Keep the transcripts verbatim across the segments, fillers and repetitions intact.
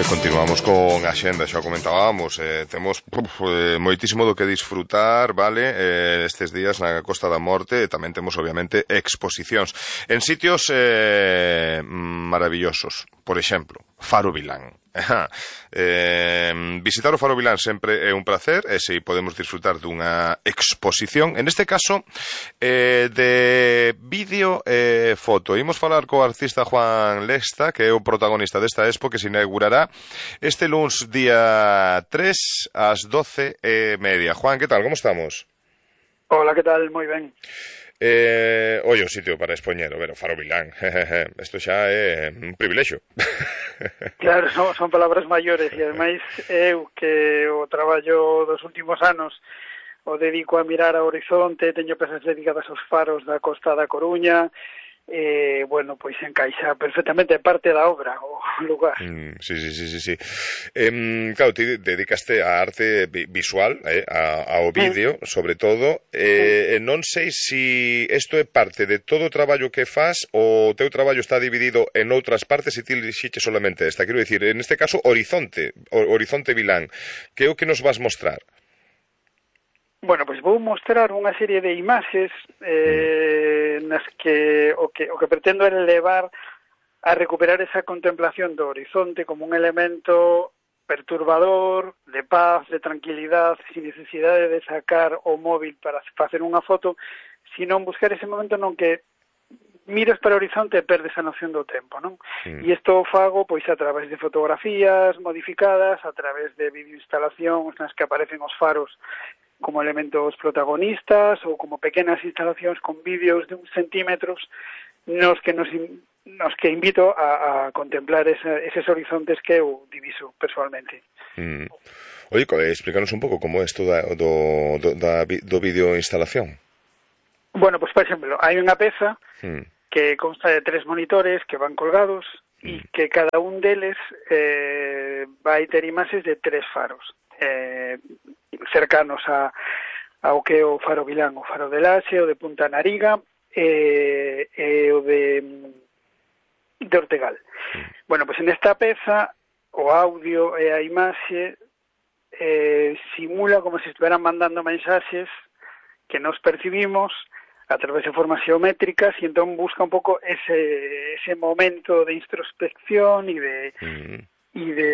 E continuamos con a xenda, xa comentábamos, eh, temos puf, eh, moitísimo do que disfrutar, vale, eh, estes días na Costa da Morte, e tamén temos, obviamente, exposicións en sitios eh, maravillosos. Por exemplo, Faro Vilán. eh, visitar o Faro Vilán sempre é un placer, e se podemos disfrutar dunha exposición, en este caso eh, de vídeo e eh, foto. Imos falar co artista Juan Lesta, que é o protagonista desta expo, que se inaugurará este luns día tres ás doce e media. Juan, que tal? Como estamos? Hola, que tal? Moi ben. Eh, oi, o sitio para expoñer, o ver, o Faro Vilán. Isto xa é un privilexio. Claro, son, son palabras maiores, e ademais eu que o traballo dos últimos anos o dedico a mirar ao horizonte, teño pezas dedicadas aos faros da Costa da Coruña, e, bueno, pois encaixa perfectamente parte da obra, o lugar. Mm, sí, sí, sí, sí, sí. Eh, claro, ti dedicaste a arte visual, eh, a, ao vídeo, mm. sobre todo. Eh, mm. Non sei se isto é parte de todo o traballo que faz, ou o teu traballo está dividido en outras partes e ti lixiche solamente esta. Quero dicir, en este caso, Horizonte, Horizonte Vilán. Que é o que nos vas mostrar? Bueno, pois vou mostrar unha serie de imaxes eh, nas que o, que o que pretendo é levar a recuperar esa contemplación do horizonte como un elemento perturbador, de paz, de tranquilidade, sin necesidade de sacar o móvil para facer unha foto, sino buscar ese momento non que miras para o horizonte e perdes a noción do tempo, non? Mm. E isto o fago pois a través de fotografías modificadas, a través de videoinstalacións nas que aparecen os faros como elementos protagonistas ou como pequenas instalacións con vídeos de uns centímetros nos que nos, nos que invito a, a contemplar esa, eses horizontes que eu diviso personalmente. Mm. Oye, explícanos un pouco como é isto da, do, do, da, do vídeo instalación. Bueno, pues por exemplo, hai unha peza mm. que consta de tres monitores que van colgados e mm. que cada un deles eh, vai ter imaxes de tres faros. Eh, cercanos a ao que é o Faro Vilán, o Faro de Laxe, o de Punta Nariga e, e o de, de Ortegal. Bueno, pois pues en esta peza o audio e a imaxe eh, simula como se estiveran mandando mensaxes que nos percibimos a través de formas geométricas e entón busca un pouco ese, ese momento de introspección e de, mm. e de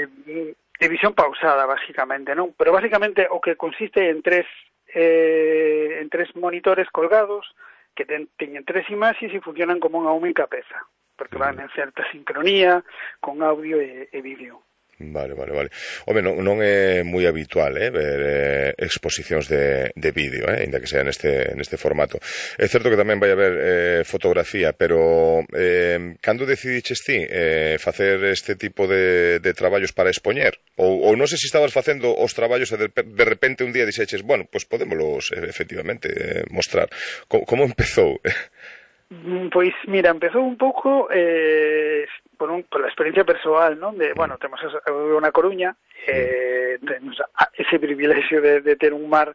de visión pausada, basicamente, non? Pero basicamente o que consiste en tres eh, en tres monitores colgados que ten, teñen tres imaxes e funcionan como unha única peza, porque van en certa sincronía con audio e, e vídeo. Vale, vale, vale. Home, non, non é moi habitual eh, ver eh, exposicións de, de vídeo, eh, ainda que sea neste, neste formato. É certo que tamén vai haber eh, fotografía, pero eh, cando decidiches ti eh, facer este tipo de, de traballos para expoñer? Ou, ou non sei se estabas facendo os traballos e de, de repente un día dixeches, bueno, pois pues podémolos eh, efectivamente eh, mostrar. Como, como empezou? Pois, mira, empezou un pouco eh, por, un, por la experiencia persoal, non? De, bueno, temos unha Coruña, eh, temos ese privilexio de, de ter un mar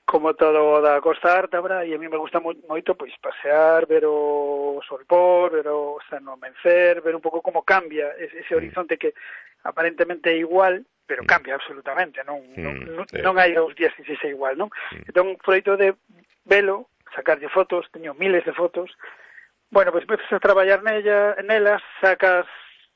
como todo da Costa Ártabra, e a mí me gusta moito, pois, pasear, ver o solpor, ver o anomencer, ver un pouco como cambia ese, ese horizonte que aparentemente é igual, pero cambia absolutamente, non, non, non, non hai os días que sexa igual, non? Entón, froito de velo, sacarlle fotos, teño miles de fotos. Bueno, pois pues, empezas a traballar nella, nelas, sacas,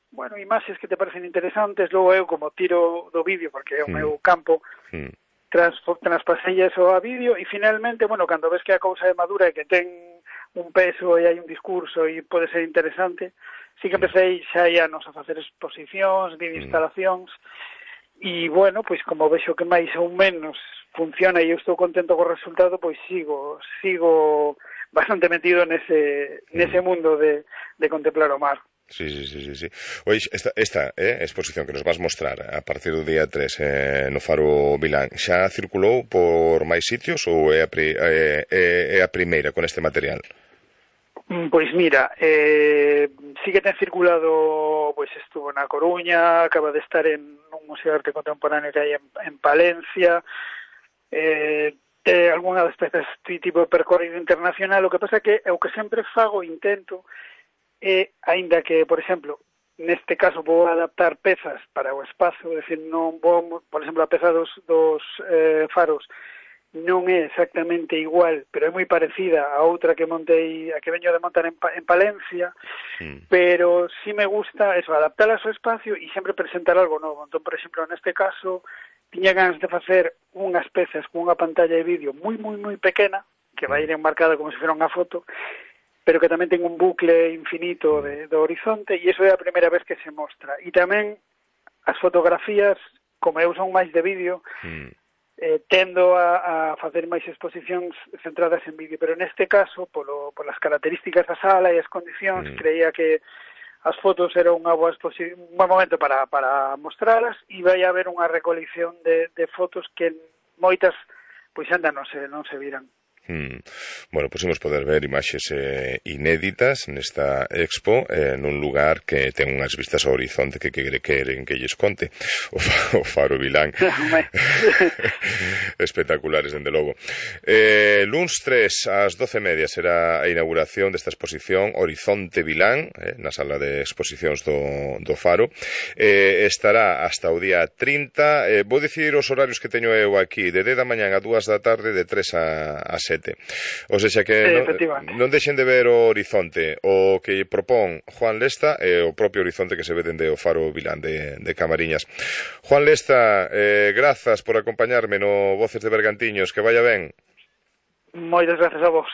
bueno, imaxes que te parecen interesantes, logo eu como tiro do vídeo, porque é o mm. meu campo, mm. trans, transpasellas o a vídeo, e finalmente, bueno, cando ves que a cousa é madura e que ten un peso e hai un discurso e pode ser interesante, sí que empecé xa hai anos a facer exposicións, videoinstalacións, mm. e, bueno, pois como vexo que máis ou menos funciona e eu estou contento co resultado, pois sigo sigo bastante metido nese nese mundo de, de contemplar o mar. Sí, sí, sí, sí, sí. Oye, esta, esta eh, exposición que nos vas mostrar a partir do día tres eh, no Faro Vilán, xa circulou por máis sitios ou é a, pri, é, é a primeira con este material? Pois mira, eh, sí que ten circulado, pois estuvo na Coruña, acaba de estar en un museo de arte contemporáneo que hai en, en Palencia, eh, eh, algunha das pezas tipo de percorrido internacional. O que pasa que é o que sempre fago, intento, é, aínda que, por exemplo, neste caso vou adaptar pezas para o espazo, é dicir, non vou, por exemplo, a peza dos, dos eh, faros non é exactamente igual, pero é moi parecida a outra que montei, a que veño de montar en, en Palencia, mm. pero sí me gusta eso, adaptar a seu espacio e sempre presentar algo novo. Entón, por exemplo, neste caso, tiña ganas de facer unhas pezas con unha pantalla de vídeo moi, moi, moi pequena, que vai ir enmarcada como se fora unha foto, pero que tamén ten un bucle infinito de, do horizonte, e iso é a primeira vez que se mostra. E tamén as fotografías, como eu son máis de vídeo, mm. eh, tendo a, a facer máis exposicións centradas en vídeo, pero neste caso, polo, polas características da sala e as condicións, mm. creía que as fotos era unha boa exposición, un buen momento para, para mostralas, e vai haber unha recolección de, de fotos que moitas, pois anda, non se, non se viran. Hmm. Bueno, pois imos poder ver imaxes eh, inéditas nesta expo eh, nun lugar que ten unhas vistas ao horizonte que quere queren que lles conte o, fa, o Faro Vilán. Espectaculares, dende logo. Eh, luns tres ás doce e media será a inauguración desta exposición Horizonte Vilán, eh, na sala de exposicións do, do Faro. Eh, estará hasta o día trinta. Eh, vou dicir os horarios que teño eu aquí, de dez da mañán a dúas da tarde, de tres a sete. O sea que sí, non, non deixen de ver o horizonte, o que propón Juan Lesta e o propio horizonte que se ve dende o Faro Vilán de, de Camariñas. Juan Lesta, eh, grazas por acompañarme no Voces de Bergantiños, que vaya ben. Moitas grazas a vos.